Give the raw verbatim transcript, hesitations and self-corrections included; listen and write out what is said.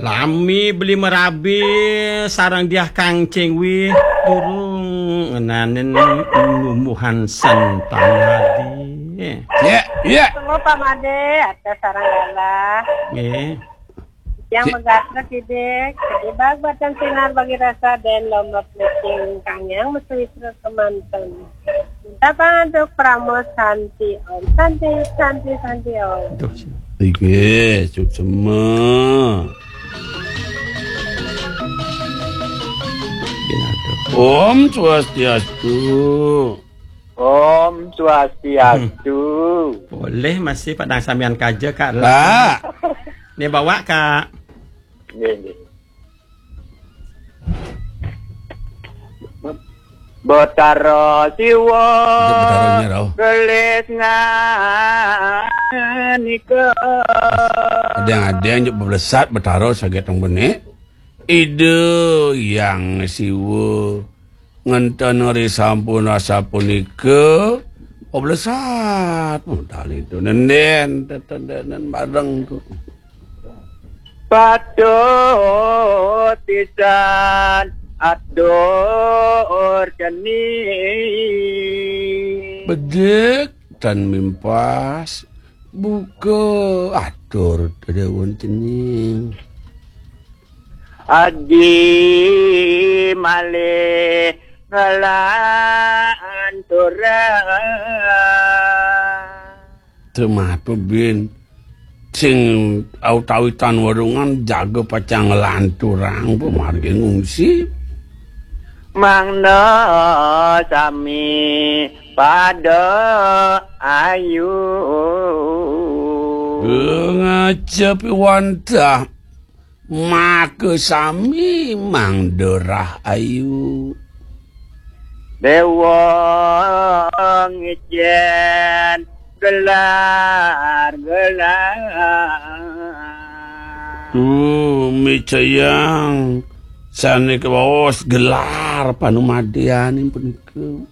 Lami beli merabi sareng Diah Kangcing Wih durung ngenanin numbuhan sentang adi. Ya, ya. Tunggu Pak Made, ada sarang galah. Nggih. Yang Ya. Megatrek idik, kedibag batan sinar bagi rasa dan lombok licing kang yang mesuwi kemanten. Minta pangantuk pramos santi om, santi, santi, santi om. Aduh. Iki, suksema. Om Swastiastu. Om Swastiastu. Boleh masih padang samian kaja, Kak. Kak. Ni bawa, Kak. Nggih, nggih. Betara Siwa Betara Nyerau. Gelis nganika. Adeng-adeng juk beblesat Betara saget teng benik. Ida Hyang Siwa ngenten ri sampun asapunika beblesat. Modal itu nenden tetendenen bareng tu. Patut pisan atur cening. Bedek tan mimpas buka atur tedawun cening. Adi malih ngelanturang. Tematu bin sing autawi tan warungan jaga pacang nglanturang pamargi ngungsi. Mangda sami pada ayu. Ngajep wantah maka sami mangda rahayu. Dewa ngicen gelar-gelar. Tumicayang sane kawaos gelar panumadian punika.